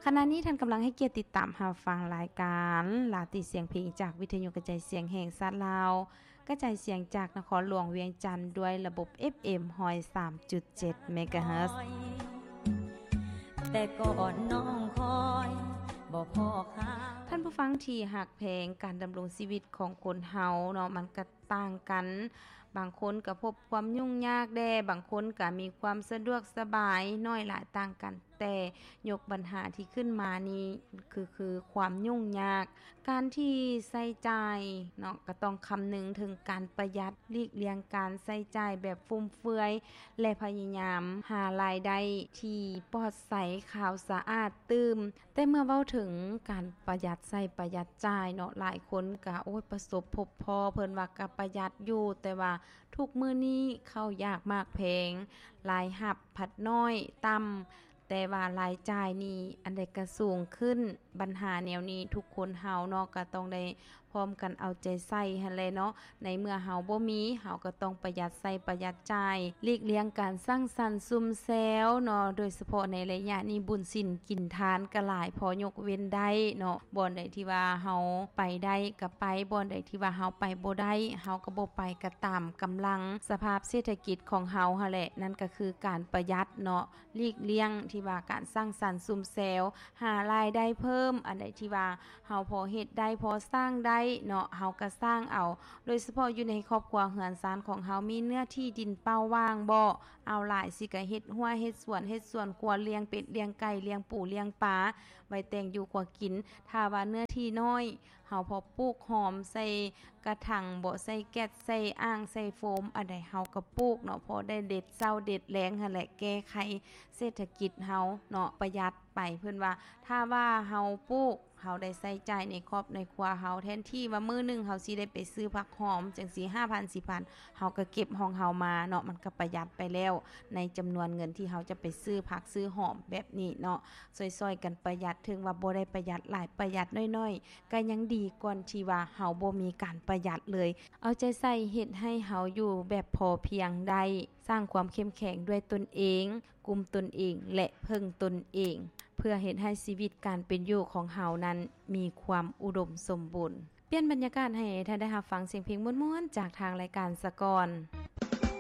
ຂະນະນີ້ທ່ານກຳລັງໃຫ້ກຽດຕິດຕາມຮັບຟັງລາຍການລາຕີສຽງເພງ ຈາກວິທະຍຸກະຈາຍສຽງແຫ່ງຊາດລາວ, ກະຈາຍສຽງຈາກນະຄອນຫຼວງວຽງຈັນ ດ້ວຍລະບົບ ເອຟເອັມ ຮ້ອຍສາມຈຸດເຈັດ ເມກາເຮີດ. ແຕ່ກ່ອນນ້ອງຄອຍບໍ່ພໍຄ່າ. ທ່ານຜູ້ຟັງທີ່ຮັກແພງ, ການດຳລົງຊີວິດຂອງຄົນເຮົາເນາະ ມັນກະຕ່າງກັນ. ບາງຄົນກະພົບຄວາມຫຍຸ້ງຍາກແດ່, ບາງຄົນກະມີຄວາມສະດວກສະບາຍ, ໜ້ອຍຫຼາຍຕ່າງກັນ, ແຕ່ຍົກບັນຫາທີ່ຂຶ້ນມານີ້ ຄື ຄືຄວາມຫຍຸ້ງຍາກ. ການທີ່ໃຊ້ຈ່າຍເນາະ ກະຕ້ອງຄຳນຶງເຖິງການປະຢັດ, ຫຼີກລ່ຽງການໃຊ້ຈ່າຍແບບຟຸມເຟືອຍ ແລະ ພະຍາຍາມຫາລາຍໄດ້ທີ່ປອດໃສ, ຂາວສະອາດຕື່ມ. ແຕ່ເມື່ອເວົ້າເຖິງການປະຢັດໃຊ້ປະຢັດຈ່າຍເນາະ, ຫຼາຍຄົນກະ ໂອ້ຍ ປະສົບພົບພໍ້, ເພິ່ນວ່າກະປະຢັດຢູ່, ແຕ່ວ່າທຸກມື້ນີ້ເຂົ້າຢາກໝາກແພງ, ລາຍຮັບພັດໜ້ອຍ, ຕ່ຳ, ແຕ່ວ່າລາຍຈ່າຍນີ້ອັນໃດກະສູງຂຶ້ນ. ບັນຫາແນວນີ້ທຸກຄົນເຮົາເນາະ ກະຕ້ອງໄດ້ ພ້ອມກັນເອົາໃຈໃສ່ຫັ້ນແຫຼະເນາະ. ໃນເມື່ອເຮົາບໍ່ມີ, ເຮົາກໍຕ້ອງປະຢັດໃຊ້ປະຢັດຈ່າຍ, ຫຼີກລ່ຽງການສັງສັນຊຸມແຊວເນາະ. ໂດຍສະເພາະໃນໄລຍະນີ້ ບຸນສິນກິນທານກໍຫຼາຍພໍຍົກເວັ້ນໄດ້ເນາະ. ບ່ອນໃດທີ່ວ່າເຮົາໄປໄດ້ກໍໄປ, ບ່ອນໃດທີ່ວ່າເຮົາໄປບໍ່ໄດ້, ເຮົາກໍບໍ່ໄປ, ກໍຕາມກຳລັງສະພາບເສດຖະກິດຂອງເຮົາຫັ້ນແຫຼະ. ນັ້ນກໍຄືການປະຢັດເນາະ, ຫຼີກລ່ຽງທີ່ວ່າການສັງສັນຊຸມແຊວ, ຫາລາຍໄດ້ເພີ່ມ, ອັນໃດທີ່ວ່າ ເຮົາພໍເຮັດໄດ້ ພໍສ້າງໄດ້ເນາະ ເຮົາກໍສ້າງເອົາ. ໂດຍສະເພາະຢູ່ໃນຄອບຄົວເຮືອນຊານຂອງເຮົາ ມີເນື້ອທີ່ດິນເປົ່າວ່າງບໍ່? ເອົາຫຼາຍຊິກະເຮັດຮົ້ວເຮັດສວນ ເຮັດສວນຄົວ ລ້ຽງເປັດລ້ຽງໄກ່ ລ້ຽງປູລ້ຽງປາ ໄວ້ແຕ່ງຢູ່ຄົວກິນ. ຖ້າວ່າເນື້ອທີ່ນ້ອຍ ເຮົາພໍປູກຫອມໃສ່ກະຖັງບໍ ໃສ່ແກັດ ໃສ່ອ່າງ ໃສ່ໂຟມ ອັນໃດເຮົາກໍປູກເນາະ ພໍໄດ້ເດັດເຊົ້າເດັດແລງຫັ້ນແຫຼະ ແກ້ໄຂເສດຖະກິດເຮົາເນາະ ປະຢັດ ໄປ. ເພິ່ນວ່າ ຖ້າວ່າເຮົາປູກ ເຮົາໄດ້ໃຊ້ຈ່າຍໃນຄອບໃນຄົວເຮົາ ແທນທີ່ວ່າມື້ໜຶ່ງເຮົາຊິໄດ້ໄປຊື້ຜັກຫອມຈັ່ງຊີ້ ຫ້າພັນ ສິບພັນ ເຮົາກໍເກັບຂອງເຮົາມາເນາະ ມັນກໍປະຢັດໄປແລ້ວ ໃນຈຳນວນເງິນທີ່ເຮົາຈະໄປຊື້ຜັກຊື້ຫອມແບບນີ້ເນາະ. ຊ່ອຍໆກັນປະຢັດ ເຖິງວ່າບໍ່ໄດ້ປະຢັດຫຼາຍ ປະຢັດໜ້ອຍໆ ກໍຍັງດີກວ່າທີ່ວ່າເຮົາບໍ່ມີການປະຢັດເລີຍ. ເອົາໃຈໃສ່ເຮັດໃຫ້ເຮົາຢູ່ແບບພໍພຽງໄດ້ ສ້າງຄວາມເຂັ້ມແຂງດ້ວຍຕົນເອງ ກຸມຕົນເອງ ແລະ ເພິ່ງຕົນເອງ ເພື່ອເຮັດໃຫ້ຊີວິດການເປັນຢູ່ຂອງເຮົານັ້ນມີຄວາມອຸດົມສົມບູນ. ປ່ຽນບັນຍາກາດໃຫ້ທ່ານໄດ້ຮັບຟັງສຽງເພງມ່ວນໆ ຈາກທາງລາຍການສະກ່ອນ.